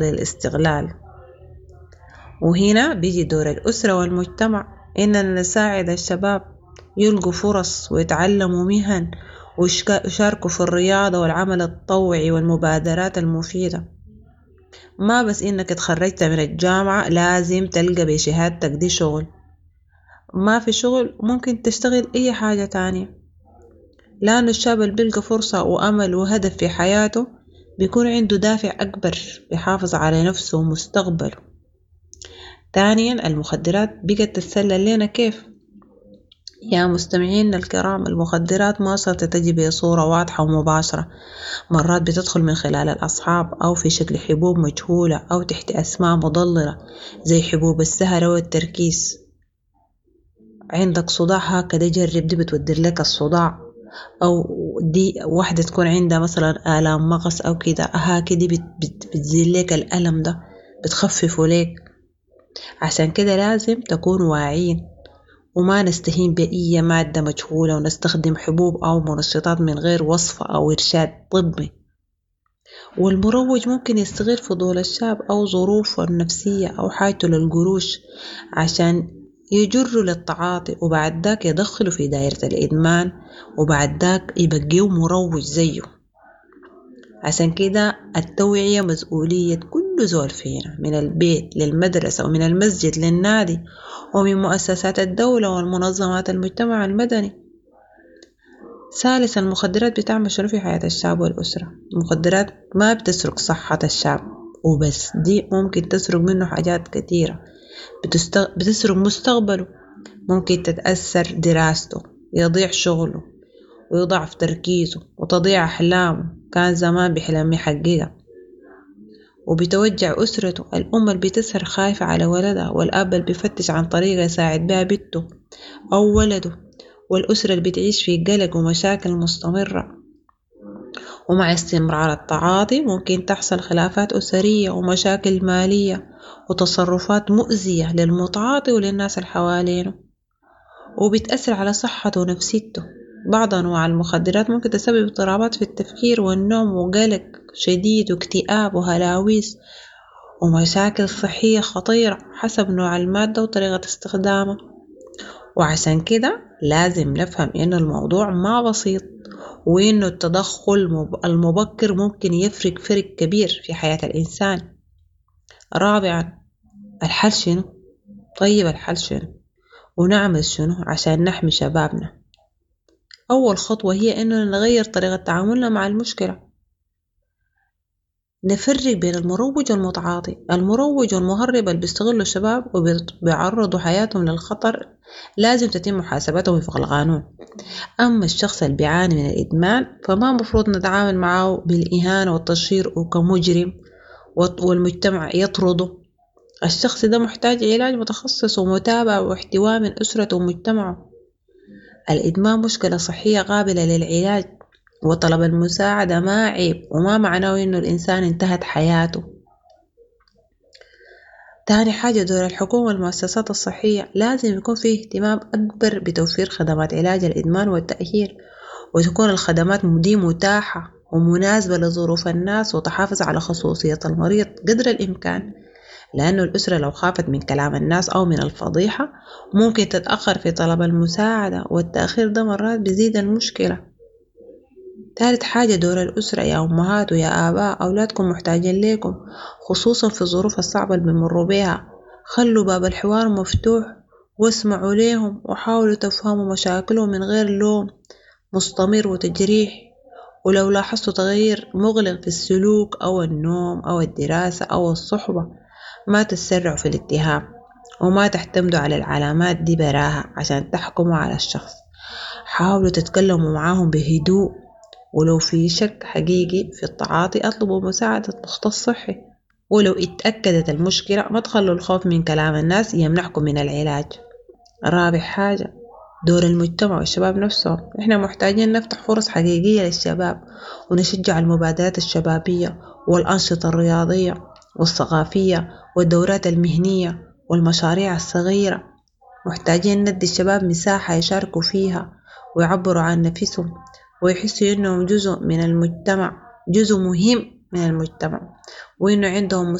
للاستغلال. وهنا بيجي دور الأسرة والمجتمع إننا نساعد الشباب يلقوا فرص ويتعلموا مهن ويشاركوا في الرياضة والعمل التطوعي والمبادرات المفيدة. ما بس إنك اتخرجت من الجامعة لازم تلقى بشهادتك دي شغل، ما في شغل ممكن تشتغل أي حاجة تانية، لأنه الشاب البلقى فرصة وأمل وهدف في حياته بيكون عنده دافع أكبر يحافظ على نفسه ومستقبله. تانياً المخدرات بقت تتسلل لينا كيف؟ يا مستمعين الكرام المخدرات ما شرط تجي بصورة واضحة ومباشرة، مرات بتدخل من خلال الأصحاب أو في شكل حبوب مجهولة أو تحت أسماء مضللة زي حبوب السهر أو التركيز. عندك صداع هكذا جرب دي بتودر لك الصداع، أو دي واحدة تكون عندها مثلا آلام مغص أو كده هكذا بتزيل لك الألم ده بتخففه لك. عشان كده لازم تكون واعيين وما نستهين بأي مادة مجهولة ونستخدم حبوب أو منشطات من غير وصفة أو إرشاد طبي. والمروج ممكن يستغل فضول الشاب أو ظروفه النفسية أو حاجته للقروش عشان يجروا للتعاطي، وبعد ذاك يدخلوا في دائرة الإدمان، وبعد ذاك يبقيه مروج زيه. عشان كده التوعية مسؤولية كل زول فينا، من البيت للمدرسة ومن المسجد للنادي ومن مؤسسات الدولة والمنظمات المجتمع المدني. ثالثا المخدرات بتعمل شنو في حياة الشاب والأسرة؟ المخدرات ما بتسرق صحة الشاب وبس، دي ممكن تسرق منه حاجات كتيرة، بتسرق مستقبله، ممكن تتأثر دراسته، يضيع شغله ويضعف تركيزه وتضيع أحلامه كان زمان بيحلم يحققها، وبتوجع أسرته، الأم اللي بتسهر خايفة على ولدها، والأب اللي بيفتش عن طريقة يساعد بها بنته أو ولده، والأسرة اللي بتعيش في قلق ومشاكل مستمرة. ومع استمرار التعاطي ممكن تحصل خلافات أسرية ومشاكل مالية وتصرفات مؤذية للمتعاطي وللناس اللي حوالينه، وبتأثر على صحته ونفسيته. بعض أنواع المخدرات ممكن تسبب اضطرابات في التفكير والنوم وقلق شديد واكتئاب وهلاويس ومشاكل صحية خطيرة حسب نوع المادة وطريقة استخدامها. وعشان كده لازم نفهم إنه الموضوع ما بسيط، وإنه التدخل المبكر ممكن يفرق فرق كبير في حياة الإنسان. رابعا الحل شنو؟ طيب الحل شنو؟ ونعمل شنو عشان نحمي شبابنا؟ أول خطوة هي إننا نغير طريقة تعاملنا مع المشكلة، نفرق بين المروج والمتعاطي. المروج والمهرب اللي بيستغلوا الشباب وبيعرضوا حياتهم للخطر لازم تتم محاسبتهم وفق القانون. أما الشخص اللي بيعاني من الإدمان فما مفروض نتعامل معه بالإهانة والتشهير وكمجرم والمجتمع يطرده. الشخص ده محتاج علاج متخصص ومتابعة واحتواء من أسرته ومجتمعه. الإدمان مشكلة صحية قابلة للعلاج، وطلب المساعدة ما عيب وما معناه إنه الإنسان انتهت حياته. تاني حاجة دور الحكومة والمؤسسات الصحية لازم يكون فيه اهتمام أكبر بتوفير خدمات علاج الإدمان والتأهيل، وتكون الخدمات دي متاحة ومناسبة لظروف الناس وتحافظ على خصوصية المريض قدر الإمكان، لأنه الأسرة لو خافت من كلام الناس أو من الفضيحة ممكن تتأخر في طلب المساعدة، والتأخير ده مرات بيزيد المشكلة. ثالث حاجة دور الأسرة، يا أمهات ويا آباء أولادكم محتاجين لكم خصوصا في الظروف الصعبة اللي بيمروا بيها. خلوا باب الحوار مفتوح واسمعوا ليهم وحاولوا تفهموا مشاكلهم من غير لوم مستمر وتجريح. ولو لاحظتوا تغيير مغلق في السلوك أو النوم أو الدراسة أو الصحبة ما تتسرعوا في الاتهام وما تعتمدوا على العلامات دي براها عشان تحكموا على الشخص. حاولوا تتكلموا معاهم بهدوء، ولو في شك حقيقي في التعاطي اطلبوا مساعدة مختص صحي، ولو اتأكدت المشكلة ما تخلوا الخوف من كلام الناس يمنعكم من العلاج. رابع حاجة دور المجتمع والشباب نفسهم، احنا محتاجين نفتح فرص حقيقية للشباب ونشجع المبادرات الشبابية والأنشطة الرياضية والثقافية والدورات المهنية والمشاريع الصغيرة. محتاجين ندي الشباب مساحة يشاركوا فيها ويعبروا عن نفسهم ويحسوا إنهم جزء من المجتمع، جزء مهم من المجتمع، وإنه عندهم